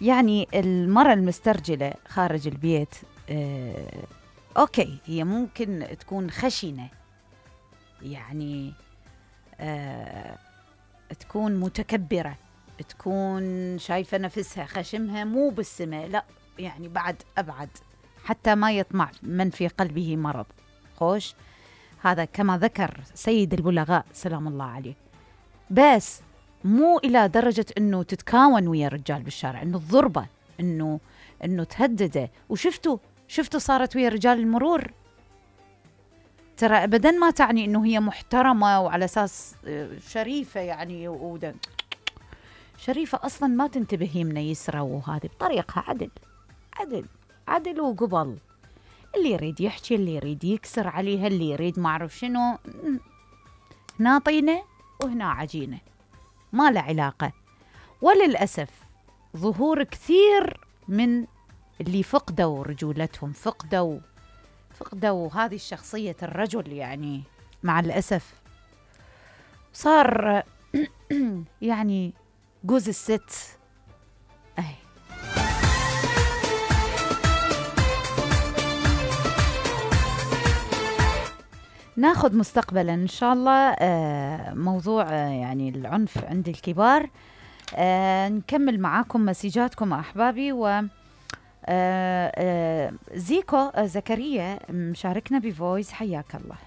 يعني المرأة المسترجلة خارج البيت أوكي، هي ممكن تكون خشنة، يعني تكون متكبرة، تكون شايفة نفسها خشمها مو بالسماء، لا يعني بعد أبعد، حتى ما يطمع من في قلبه مرض. خوش، هذا كما ذكر سيد البلغاء سلام الله عليه. بس مو إلى درجة أنه تتكاون ويا الرجال بالشارع، أنه الضربة، أنه تهدده. وشفتوا صارت ويا رجال المرور. ترى أبدا ما تعني أنه هي محترمة وعلى أساس شريفة، يعني شريفة أصلا ما تنتبه يمنا يسرى، وهذه بطريقها عدل عدل عدل وقبل. اللي يريد يحكي، اللي يريد يكسر عليها، اللي يريد ما أعرف شنو، هنا طينة وهنا عجينة، ما له علاقة. وللأسف ظهور كثير من اللي فقدوا رجولتهم، فقدوا هذه الشخصية الرجل، يعني مع الأسف صار يعني جوز الست. ناخذ مستقبلا إن شاء الله موضوع يعني العنف عند الكبار. نكمل معاكم مسيجاتكم أحبابي. و زيكو زكريا مشاركنا بفويس، حياك الله.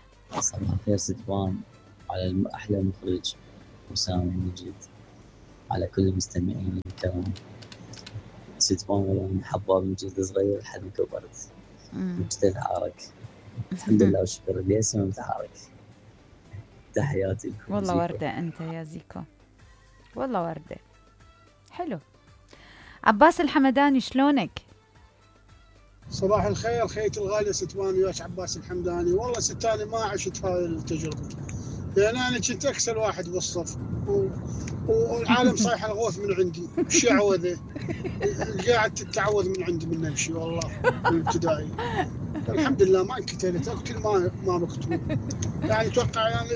صباح الخير ستوان، على أحلى مخرج وسام المجيد، على كل المستمعين الكرام. ستوان والله من حباب من جد صغير لحد ما كبرت مجتهد عارك، الحمد لله والشكر ليس متحرك. تحياتي لكم. والله وردة أنت يا زيكو، والله وردة. حلو. عباس الحمداني شلونك؟ صباح الخير خيتي الغالية ستوان، وياك عباس الحمداني. والله ستاني ما عشت هاي التجربة، لأن أنا كنت أكسر واحد بالصف والعالم صايح الغوث من عندي. وش عوذه قاعد تتعوذ من عندي من نفسي والله بالابتدائي. الحمد لله ما انقتلت، اقتل ما مقتول. يعني اتوقع يعني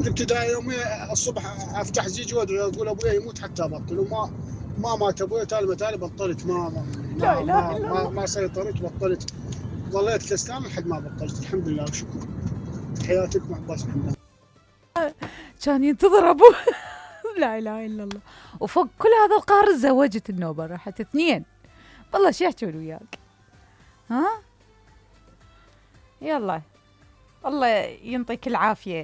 الابتدائي يومي الصبح افتح زيجي وادعي اقول ابوي يموت حتى ابطل، وما مات ابوي تالي بطلت. ما سيطرت، بطلت، ظليت كسلان لحد ما بطلت. الحمد لله وشكرا. حياتك مع عباس الحمداني. كان ينتظر ابوه. لا اله الا الله. وفوق كل هذا القهر تزوجت النوبه، راحت 2. والله شو يحكون وياك؟ ها يلا الله ينطيك العافيه.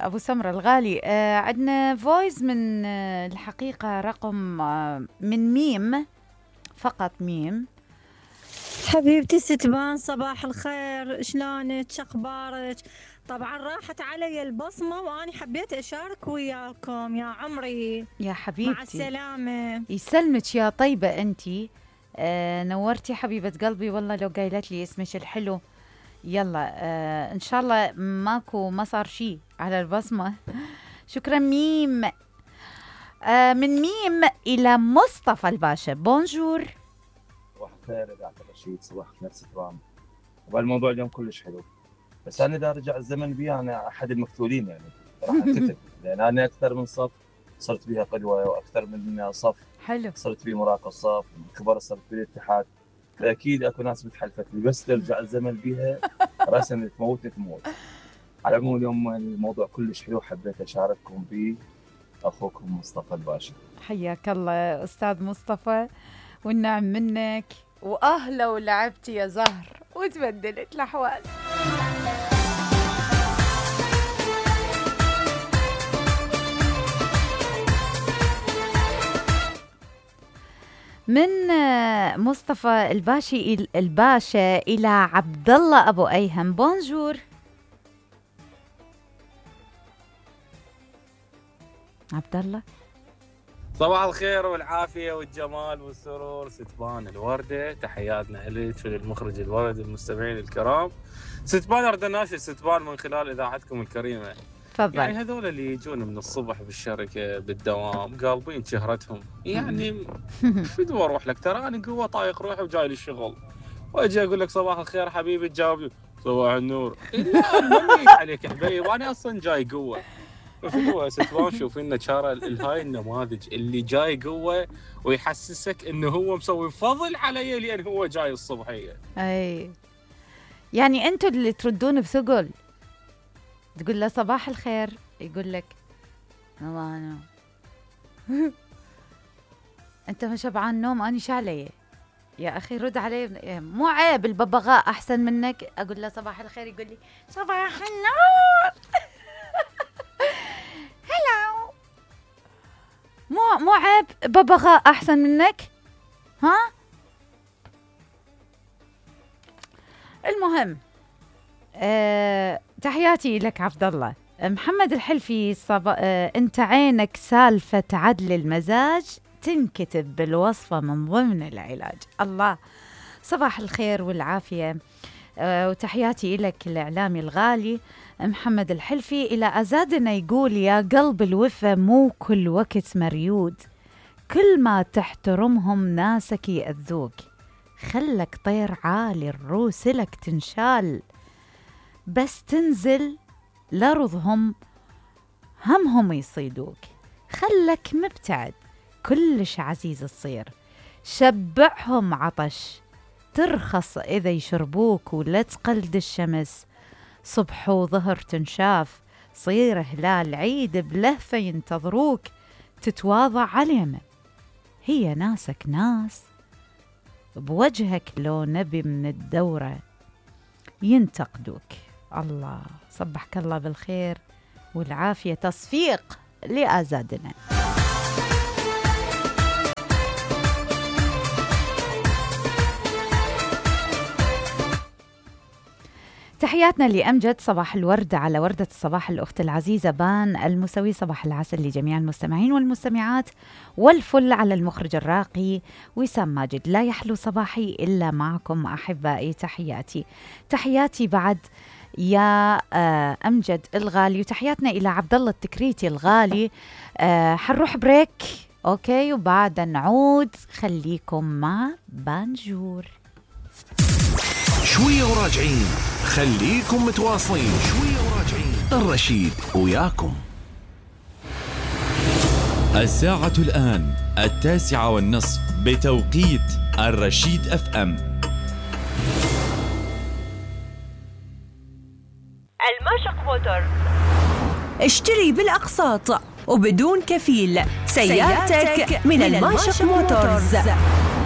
ابو سمره الغالي. عندنا فويس من الحقيقه رقم من ميم، فقط ميم. حبيبتي ستبان صباح الخير، شلونك اخبارك؟ طبعا راحت علي البصمه واني حبيت اشارك وياكم يا عمري. يا حبيبتي مع السلامه. يسلمك يا طيبه انتي. نورتي حبيبه قلبي، والله لو قايلت لي اسمك الحلو. يلا ان شاء الله ما صار شيء على البصمه. شكرا ميم. من ميم الى مصطفى الباشا. بونجور. صباح الخير يا دكتور رشيد، صباح الخير سترام. والموضوع اليوم كلش حلو، بس انا اذا رجع الزمن بي انا احد المقتولين، يعني راح انقتل. لان انا اكثر من صف صرت بها قدوه، واكثر من صف حلو صرت بي مراقب صف، كبر صرت بي الاتحاد. فاكيد اكو ناس بتحلفت لي، بس ترجع الزمن بيها راسا تموت. على العموم اليوم الموضوع كلش حلو، حبيت اشارككم به. اخوكم مصطفى الباشا. حياك الله استاذ مصطفى، والنعم منك، واهلا ولعبتي يا زهر وتبدلت الاحوال. من مصطفى الباشا الى عبد الله ابو ايهم. بونجور عبد الله. صباح الخير والعافية والجمال والسرور ستبان الوردة، تحياتنا إليك وللمخرج الورد والمستمعين الكرام. ستبان أريد أناشد ستبان من خلال إذاعتكم الكريمة. تفضل. يعني هذول اللي يجون من الصبح بالشركة بالدوام قالبين شهرتهم، يعني فدوا أروح لك، ترى أنا قوة طايق روحي وجاي للشغل، وأجي أقول لك صباح الخير حبيبي تجاوب صباح النور. لا مميت عليك يا حبيبي، وأنا أصلا جاي قوة. شنو ستبان شوفي لنا شارع هاي النماذج اللي جاي قوه ويحسسك انه هو مسوي فضل علي لان هو جاي الصبحيه. اي يعني انتوا اللي تردون بثقل، تقول له صباح الخير يقول لك والله انا انت ما شبعان نوم، اني شعلي يا اخي رد علي. مو عيب الببغاء احسن منك. اقول له صباح الخير يقول لي صباح النور. هلو، مو عيب ببغاء احسن منك ها. المهم تحياتي لك عبد الله. محمد الحلفي انت عينك سالفة عدل المزاج تنكتب بالوصفة من ضمن العلاج. الله، صباح الخير والعافية وتحياتي لك الإعلامي الغالي محمد الحلفي. إلى أزادنا يقول يا قلب الوفا مو كل وقت مريود، كل ما تحترمهم ناسك يأذوك، خلك طير عالي الروس لك تنشال، بس تنزل لرضهم همهم يصيدوك، خلك مبتعد كلش عزيز تصير، شبعهم عطش ترخص إذا يشربوك، ولا تقلد الشمس صبح وظهر تنشاف، صير هلال عيد بلهفة ينتظروك، تتواضع عليهم هي ناسك ناس، بوجهك لو نبي من الدورة ينتقدوك. الله، صبحك الله بالخير والعافية، تصفيق لأزادنا. تحياتنا لأمجد، صباح الورد على وردة الصباح الأخت العزيزة بان المسوي، صباح العسل لجميع المستمعين والمستمعات، والفل على المخرج الراقي وسام ماجد. لا يحلو صباحي إلا معكم أحبائي. تحياتي بعد يا أمجد الغالي، وتحياتنا إلى عبد الله التكريتي الغالي. حنروح بريك أوكي، وبعد نعود خليكم مع بانجور. شوية وراجعين، خليكم متواصلين. شوية وراجعين، الرشيد وياكم. الساعة الآن 9:30 بتوقيت الرشيد FM. الماشق موتورز، اشتري بالأقساط وبدون كفيل سيارتك من الماشق موتورز.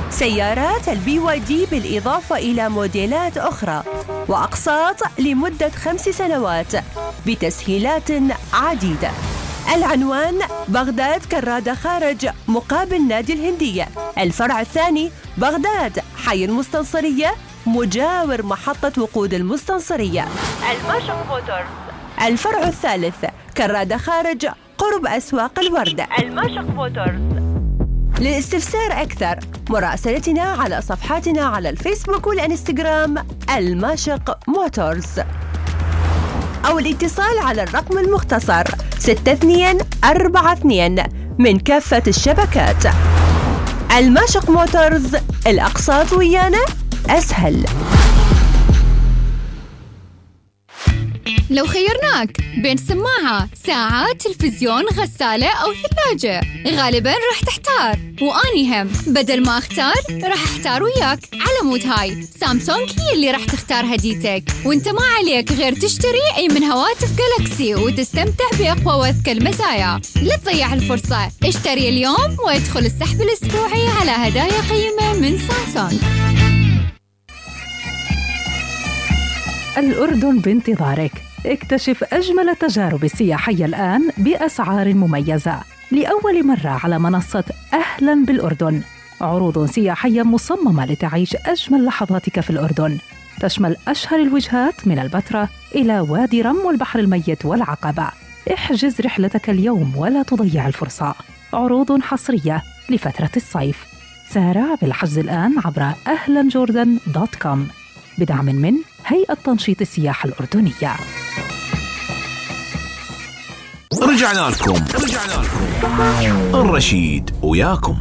سيارات الBYD بالإضافة إلى موديلات أخرى، وأقساط لمدة 5 سنوات بتسهيلات عديدة. العنوان بغداد كرادة خارج مقابل نادي الهندية، الفرع الثاني بغداد حي المستنصرية مجاور محطة وقود المستنصرية. الماشق موتورز. الفرع الثالث كرادة خارج قرب أسواق الوردة. الماشق موتورز. للاستفسار أكثر مراسلتنا على صفحاتنا على الفيسبوك والإنستغرام الماشق موتورز، أو الاتصال على الرقم المختصر 6242 من كافة الشبكات. الماشق موتورز، الأقساط ويانا أسهل. لو خيرناك بين سماعة، ساعة، تلفزيون، غسالة أو ثلاجة، غالباً راح تحتار، وأني هم بدل ما أختار راح أحتار وياك. على مود هاي سامسونج هي اللي راح تختار هديتك، وانت ما عليك غير تشتري أي من هواتف جالاكسي وتستمتع بأقوى وأذكى المزايا. لا تضيع الفرصة، اشتري اليوم وادخل السحب الأسبوعي على هدايا قيمة من سامسونج. الأردن بانتظارك. اكتشف أجمل التجارب السياحية الآن بأسعار مميزة لأول مرة على منصة أهلاً بالأردن. عروض سياحية مصممة لتعيش أجمل لحظاتك في الأردن، تشمل أشهر الوجهات من البتراء إلى وادي رم والبحر الميت والعقبة. احجز رحلتك اليوم ولا تضيع الفرصة. عروض حصرية لفترة الصيف. سارع بالحجز الآن عبر ahlanjordan.com بدعم من هيئة تنشيط السياحة الأردنية. رجعنا لكم الرشيد وياكم.